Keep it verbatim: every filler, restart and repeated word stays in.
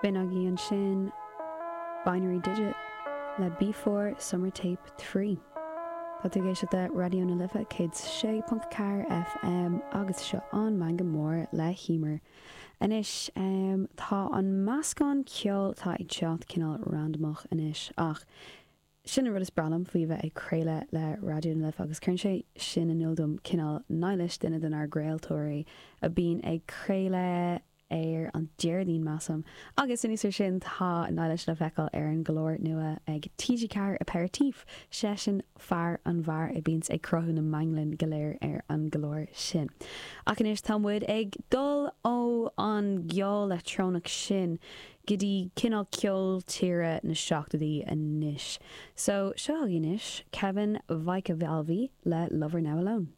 B'in agaibh ansin Binary Digit le Before Summer Tape Three. Tá tú ag éisteacht le Raidió na Life céad sé ponc ceathair FM agus seo an Meangadh Mór le hEmer. Anois um, tá an meascán ceoil atá ag teacht cineál randamach anois ach sin an rud is breá liom faoi bheith ag craoladh le Raidió na Life agus cuireann sé sin in iúl dom cineál Nilis duine denár gcraoltóirí a bhíonn ag craoladh ar an Déardaoin measaim. Agus anuas air sin tá Nilis le feiceáil ar an gclár nua ag TG Ceathair Aperitif seisean fear an bheáir a bhíonns ag cruthú na meanglann go léir ar an gclár sin. Ach anois tá muid ag dul ó an gceol leictreonach sin go dtí cineál ceol tíre na seachtóidí anois. So seo anois Kevin Vaicavalvi le Lover Now Alone.